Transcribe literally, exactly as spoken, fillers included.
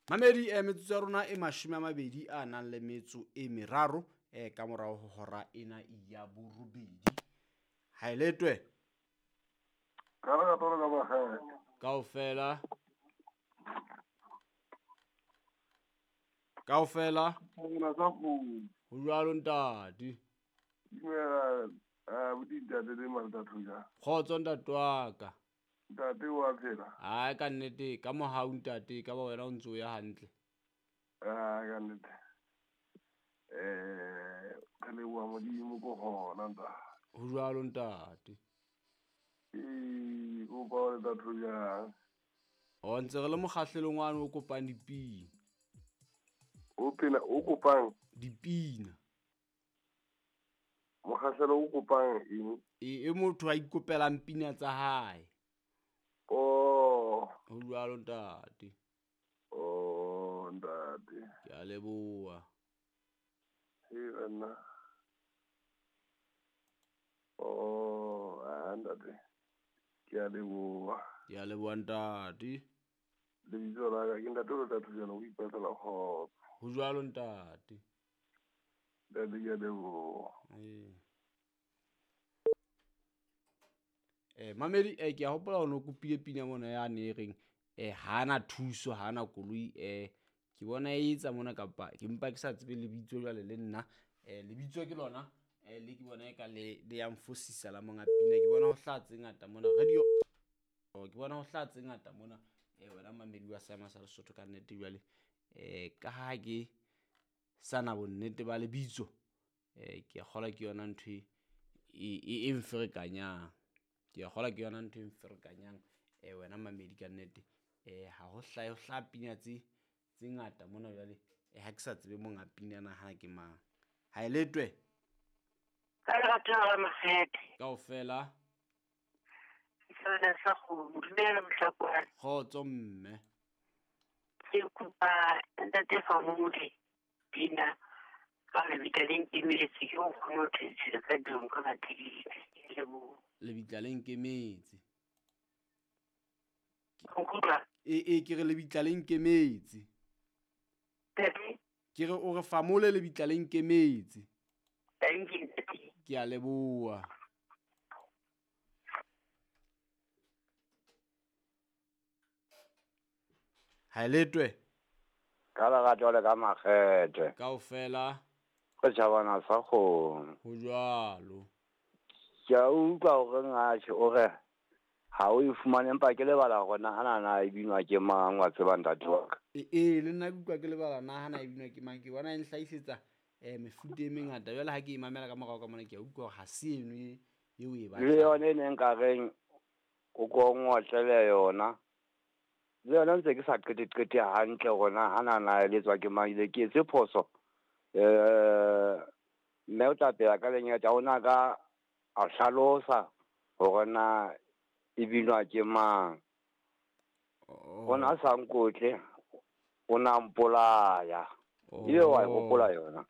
Mamedi eh metsotso ya rona e mashome a mabedi a nang le metso e meraro eh ka morao ho hora ena ya borobedi. Ha e letwe. Ka re ka ka makgethe. Kaofela. Kaofela. Rona sa kgomo. Ho jwalo ntate. Dumela eh buti ntate le Malta Thuja. Kgotso ntate wa ka. Ntate wa phela. Ai ka nnete ka mohau ntate ka ba wena o ntso ya hantle. Ah ka nnete. Eh re leboha Modimo ko hona ntate. Ho jwalo ntate. Eh o pa le Thuja. O ntse re le mokgahlelong wa o kopang dipina. O pina o kopang dipina. Mokgahlelo o kopang eng? E e motho a ikopelang pina tsa hae. Oh, ho jwalo ntate. Oh ntate. Ke a leboha. E nna. Oh, ntate. Ke a leboha. Ke a leboha ntate. Lebitso la ka ke ntate o tla thusa ho ipatlela kgotso. Ho jwalo ntate. Ntate ke a leboha. Eh. Eh mamedi eh ke a hopola hore o kopile pina mona ya ne reng eh hana thuso hana koloi eh ke bona e etsa mona kapa ke mpa ke sa tsebe lebitso jwale le nna eh lebitso ke lona eh le ke bona e ka le le ya mfosisa la monga pina ke bona ho hlatse ngata mona radio oh ke bona ho hlatse ngata mona eh wena mamedi wa Seema sa Lesotho ka nnete jwale eh ka ha ke sana bonnete ba lebitso eh ke kgola ke yona ntho e e mferekanyang. Ke a kgola ke yona ntho e mferekanyang eh wena mamedi ka nnete eh ha ho hlahe ho hlaha pina tse tse ngata mona jwale eh ha ke sa tsebe monga pina na ha ke mang. Ha e letwe. Ka lerato la makgethe. Kaofela. Sona sa go dumela mohlakwana. Kgotso mme. Ke kopa ntate Famole pina ka lebitla le nkemetse ke o kgone ho thetsela ka dilong ka bathekisi. Ke leboha. Lebitla le nkemetse. Nkutlwa? E e ke re lebitla le nkemetse. Ntate? Ke re o re Famole lebitla le nkemetse. Thank you ntate. Ke a leboha. Ha e letwe. Ka lerato le ka makgethe. Kaofela. Re tjhabana sa kgomo. Ho jwalo. Ke a utlwa hore ngatjhe o re ha o e fumane empa ke lebala hore nahana na e binwa ke mang wa tseba ntate wa ka. E e le nna ke utlwa ke lebala nahana e binwa ke mang ke bona e nhlahisetsa eh mefuta e mengata jwale ha ke e mamela ka morao ka mona ke a utlwa hore ha se eno e eo e batlang. Le yona e neng ka reng o ko ngotlele yona. Le yona ntse ke sa qete qete hantle hore nahana na e letswa ke mang ile ke etse phoso. Eh mme o tla pela ka lenyatsa ona ka a hlalosa hore na e binwa ke mang. Ona sa nkotle o na mpolaya. Ile wa e hopola yona.